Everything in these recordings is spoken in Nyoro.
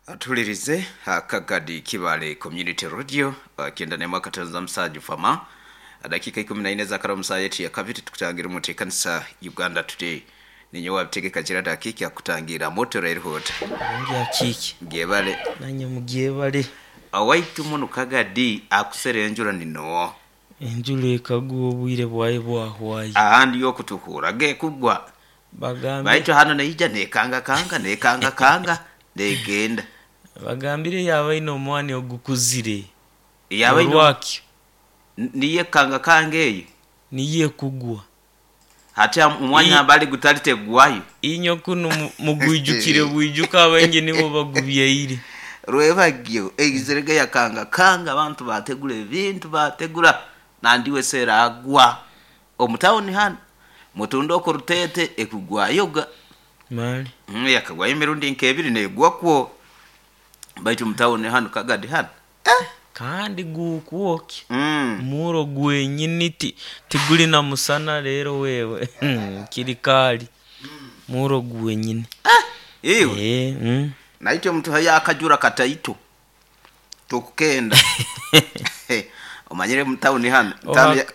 Atulirize Kagadi Kibale Community Radio, kenda ne mwaka tanza msaju fama dakika 14 za karamu saa yetu ya kabiri tukutangira mu kanisa Uganda Today. Ninyo wabitegeka kira dakika kutangira moto rail hot. Ngia kiki. Gebale. Nanye mugebale. Awaitu muno Kagadi akusere enjura nino. Enjura ekagwa obwire bwaye bwahwaye. Ahandi yokutukura ge kugwa. Bagambe. Baitu hano naija nekanga kanga nekanga kanga negenda. Bagambire yaba ino omwani ogukuzire. Yaba ino Olwakyo. Niye kanga kanga eyo. Niye kugwa. Hati omwanya bali gutalite gwayo. Inyo kuno mugwijukire bwijuka abaingi nibo bagubyeire. Rwebagyo egizerega yakanga kanga abantu bategula ebintu bategula nandiwe sera agwa. Omutawuni hano mutundo okurutete ekugwayoga. Mali. Yakagwayo emirundi nkebiri negwa kwo. Baitu mutawuni hano Kagadi hano. Kandi gukuoki. Muro gwenyini tiguli na musana rero wewe. Kirikali. Muro gwenyini. Iwe. Naityo mtu haya akajura kataito. Tukukenda. Omanyire mutawuni hano.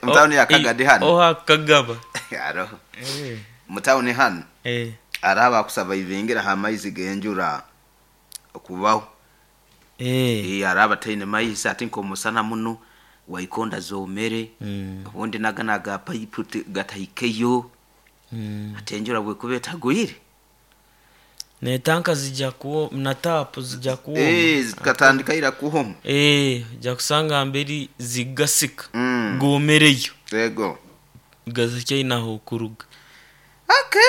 Mutawuni ya Kagadi hano. Oha kagaba. Aroho. Mutawuni hano. Araba kusaba ivingira ha maizi genjura okubaho. Araba taine maizi ati nko musana muno waikonda zomere. Ubundi naganaga pipe gatahikeyo. Atenjura bwe kubeta gwire. Ne tanka zijja kuwo na tapu zijja kuwo. Zikatandika ira kuhoma. Ja kusanga mberi zigasika. Gomereyo. Yego. Gazike inaho kuruga. Okay.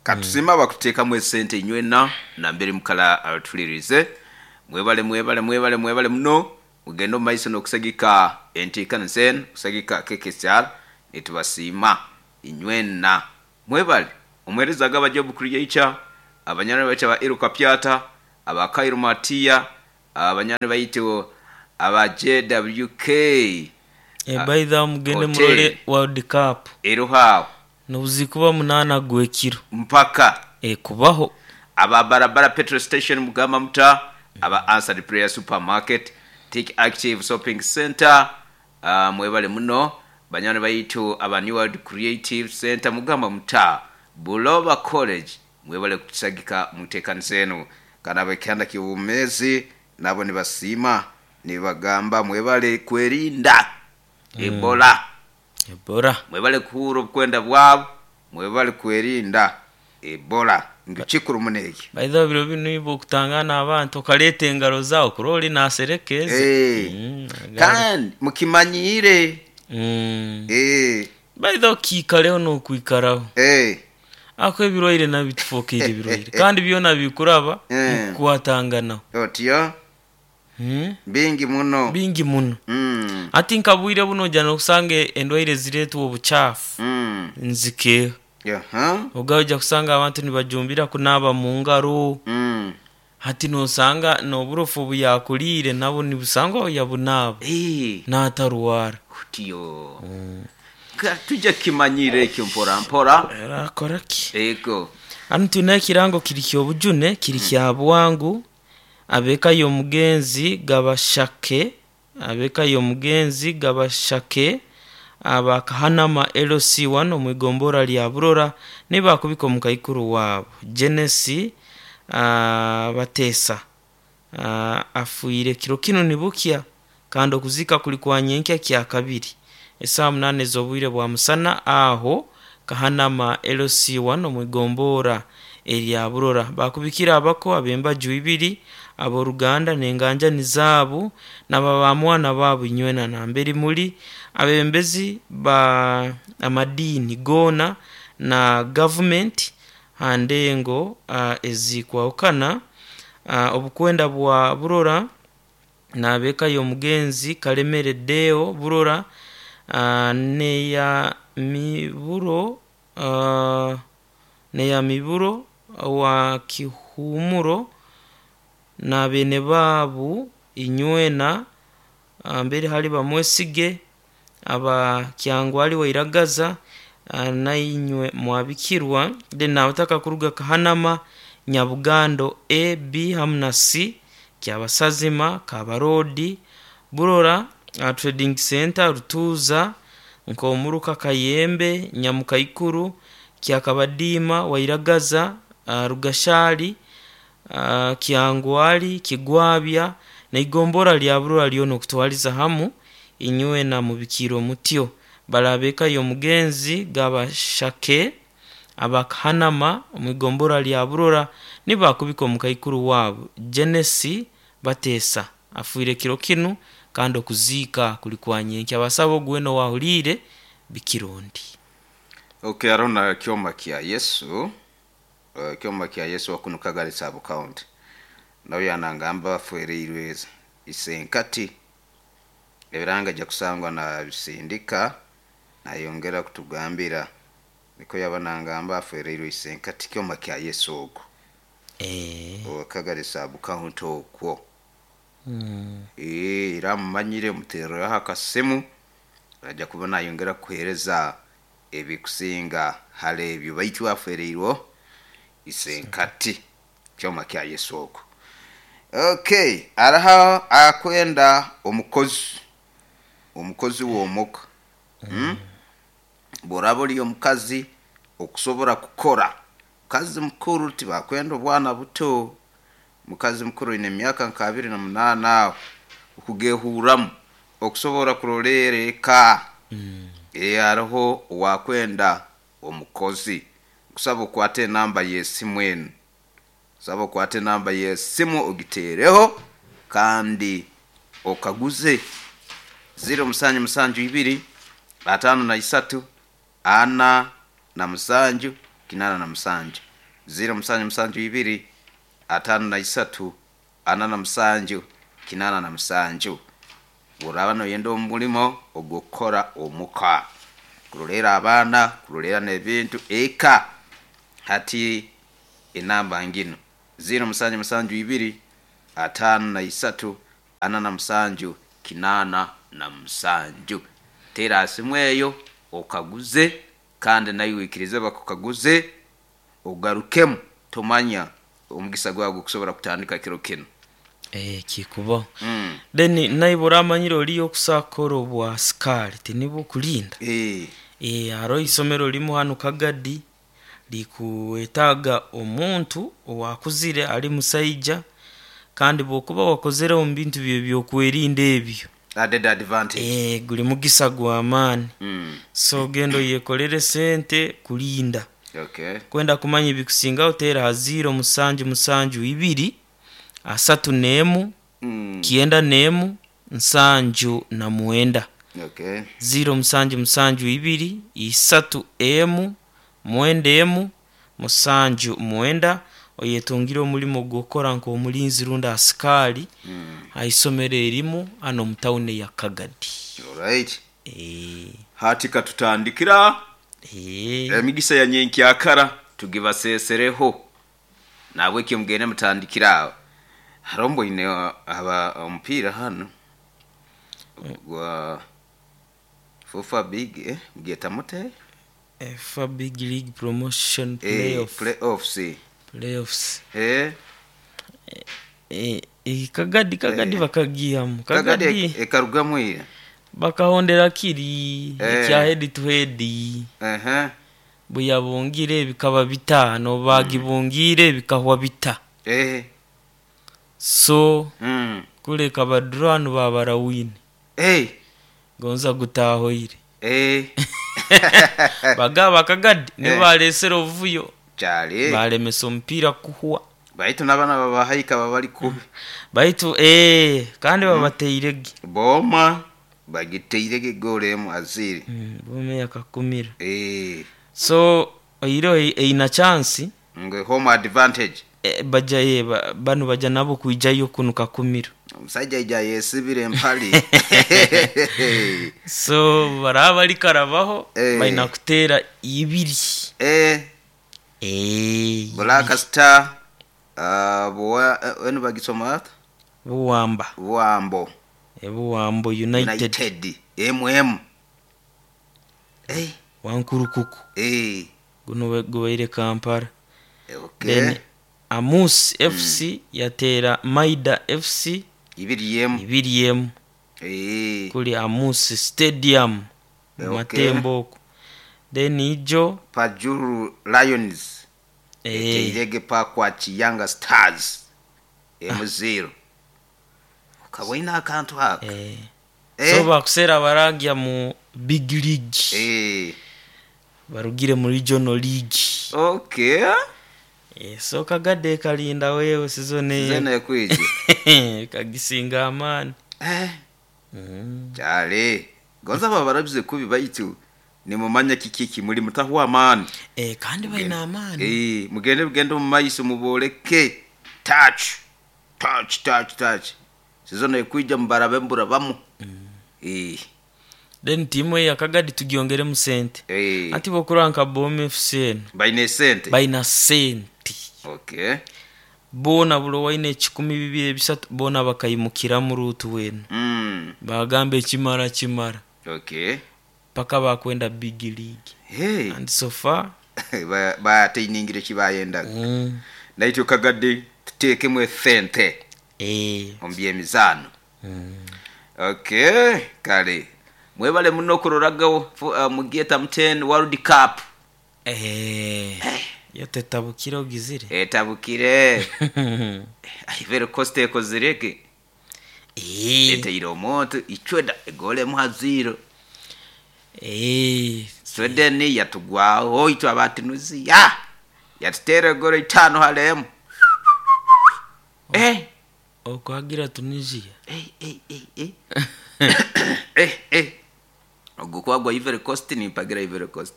Katusima bakuteka mwe sente nywena na mbere mukala atulirize. Mwebale mwebale mwebale mwebale muno. Mugendo maiso nokusagika entikana sen kusagika KKCR nitubasima inywena. Mwebale omwereza gaba job creator abanyana bacha ba Iruka Pyata aba Kairo Matia abanyana bayito aba JWK. By the mugende murole World Cup eruha nobuzikuba 8 gwekiro mpaka kubaho aba barabara petrol station mugamba muta aba Answered Prayer Supermarket Take Active Shopping Center, mwebale muno banyana bayitu aba New World Creative Center mugamba muta Buloba College mwebale kutusagika muteekanisenu kana bekanda kiwumezi nabo nibasima nibagamba mwebale kwerinda Ebola. Ebola mwebale kuhura obukwenda bwabo mwebale kwerinda Ebola ngikikuru muneki. By the way biro bino ibo kutangana abantu okaleta engaro zao kuroli naserekeze. Kandi mukimanyire. By the way kikaleo no kuikaraho. Ako ebirwaire nabitufokeire ebirwaire kandi byona bikuraba kukwatangana. Otyo. Bingi muno. Bingi muno. Ati nkabwire buno jana okusange endwaire ziretwa obuchafu. Nzike. Ogaja kusanga abantu nibajumbira kunaba mu ngaro. Hati nosanga noburofu buyakulire nabo nibusangwa yabunaba. Nataruwara. Otyo. Tujja kimanyire ekyo mpora mpora. Era ki? Ego. Anu tuna ekirango kiri kyobujune kiri kya bwangu abeka yo mugenzi gabashake abeka yo mugenzi gabashake abakahanama LC1 omwigombora lya Burora nibakubika omukaikuru wabo Genesi batesa afuire kiro kino nibukia kandi okuzika kuli kwa nyenkya kya kabiri esaa 8 z'obwire bwa musana aho kahanama LC1 omwigombora erya Burora bakubikira abako abembaju ibiri aboruganda nenganja nizabu nababamwana babu nywena na mberi muri abembezi ba amadini gona na government handengo ezikwaukana obukwenda bwa Burora nabeka yo mugenzi Kalemere Deo Burora neya miburo neya miburo wa kihumuro na bene babu inywena mbere hali bamwesige aba kyangwali wairagaza na inywe mwabikirwa de nautaka kuruga kahanama Nyabugando A, B hamu na C, Kyabasazima, Kabarodi, Burora Trading Center, Rutuuza, Nkomuruka Kayembe, Nyamukaikuru, Kyakabadiima, Wairagaza, Rugashali, Kyangwali, Kigwabya naigombora lya Burora lyona okutwaliza hamu inywe na mubikiro mutyo. Barabeka y'omugenzi Gabashake abakahanama omwigombora lya Burora nibakubika omukaikuru waabo Genesi Batesa afiire kiro kinu kandi okuziika kuli kwa nyenkya. Abasaba ogu wena owahuliire bikirondi. Okay, arona kyoma kya Yesu, kyoma kya Yesu wakunu Kagari sub county. Nawe yanangamba bafereirwe isenkati ebiranga ajja kusangwa nabisindika nayongera kutugambira niko yaba nangamba afereirwe isenkati kyoma kya Yesu ogwo Kagari sub county okwo. Era mumanyire mutereraho akasimu ajja kuba nayongera kuhereza ebikusinga hali ebyo baitu afereirwe isenkati kyoma kya Yesu okwo. Okay, araha akwenda omukozi w'omuka. Bw'oraba oli omukazi okusobora kukora, mukazi mukuru tibakwenda obwana buto, mukazi mukuru oine emyaka nka 28 aho okugehuramu okusobora kurolera eka. Hariho owakwenda omukozi, nkusaba okwate enamba y'esimu enu, nsaba okwate enamba y'esimu ogiteereho kandi okaguze 0772 53 47 87 0772 53 47 87. Bw'oraba noyenda omulimo ogw'okukora omuka, kurolera abaana, kurolera n'ebintu eka, hati enamba nginu 0772 53 47 87. Teera ha simu eyo okaguze kandi naiwe oikirize bakukaguze ogarukemu tomanya omugisa gwawe gukusobora kutandika kiro kinu. Kikubaho. Then naiwe oramanyire oriyo okusobola kukora obwa sikaari tinibwo okulinda? Haroho isomero limu hanu Kagadi likuwetaaga omuntu owakuzire ali musaija kandi bwokuba wakozereho omu bintu by'ebyokwerinda ebyo, Added advantage. Guli mugisa gw'amaani. So genda oyekolere sente kulinda. Kwenda kumanya ebikusingaho teera ha 0 7 7 2 31 91 79. 0 7 7 2 31 91 79 oyetungire omulimo gw'okukora nk'omulinzi rundi asikaari ha isomero erimu hanu omu tawuni eya Kagadi. Alright. Hati katutandikira emigisa ya nyenkyakara tugibasesereho. Nahabwekyo mugende mutandikire aho. Haroho mboine aba omupiira hanu gwa FUFA Big, mugyeta mute? FUFA Big League Promotion Playoff. Playoffs. Playoffs. Kagadi Kagadi bakagihamu. Kagadi ekarugamu ira. Bakahondera kiri ekya head to head. Bweyabungire bikaba bitaano, bagibungiire bikahwa bita. So kuleka ba draw hanu babara win. Gonza gutahoire. Bagaba Kagadi nibo balesere obuvuyo balemesa omupiira kuhwa. Baitu n'abaana babahaika babali kubi. Baitu kandi babateirege. Booma bagiteirege egoolo emu aziri. Booma eyakakumira. So oihireho eine chance. Ngu home advantage. Baja banu baja nabo kwijayo kunu Kakumiro. Omusaija aija ayesibire empali. So baraba bali karabaho baina kuteera ibiri. Black Star enu bagisoma bata? Buwamba. Buwambo. Buwambo United. United. MM. Wankurukuku. Guno gubaire Kampala. Then Amus FC yateera Maida FC 2-1. 2-1. Kuli Amus Stadium Okay. Matembo oku. Then ijo Pajuru Lions eteirege Pakwach Younger Stars 1-0. Ukabona akantu haka. So bakuseera baragya mu big league. Barugire mu regional league. So Kagade kalinda wewe season Season ekwije. Kagisinga amaani. Kyale. Gonza baba barabize kubi baitu nimumanya kiki kimuli mutahwa amaani. Kandi baina amaani. Mugende mugende mu maiso muboleke touch touch touch touch. Season ekwija mubarabe mburabamu. Then timu ya Kagadi tugiongeremu sente. Ati bokura nka Boma FC eno. Baina sente. Baina sente. Bona bulo waine 1,203 bona bakayimukira mu rutu wenu. Bagambe kimara kimara. Paka bakwenda big league. Hey. And so far Bateiningire kibayenda. Naityo Kagadi tuteekemu esente. Omu by'emizaano. Okay, kale. Mwebale muno kuroragaho mugieta 10 World Cup. Yo tetabukire ogizire. Etabukire. Ivory Coast ekozireke. Eteire omuntu icweda egole muha 0. Sweden yatugwaho itwe abatinuziya. Yatuteera egolo 5 halemu. Okwagira Tunisia. Ogwo kwagwa Ivory Coast nimpagira Ivory Coast.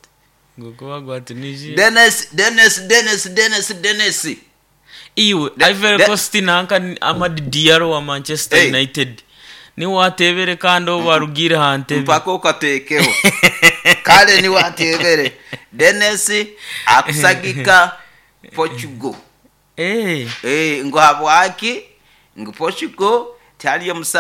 Ngoko gwa Tunisia. Dennis Dennis Dennis Dennis Dennis. Iwe Ivory Coast nanka Amad Diallo wa Manchester United. Ni watebere kandi obarugire hantebe. Mpaka ukatekeho. Kale ni watebere. Dennis akusagika Portugal. Ngo habwaki ngo Portugal taliyo.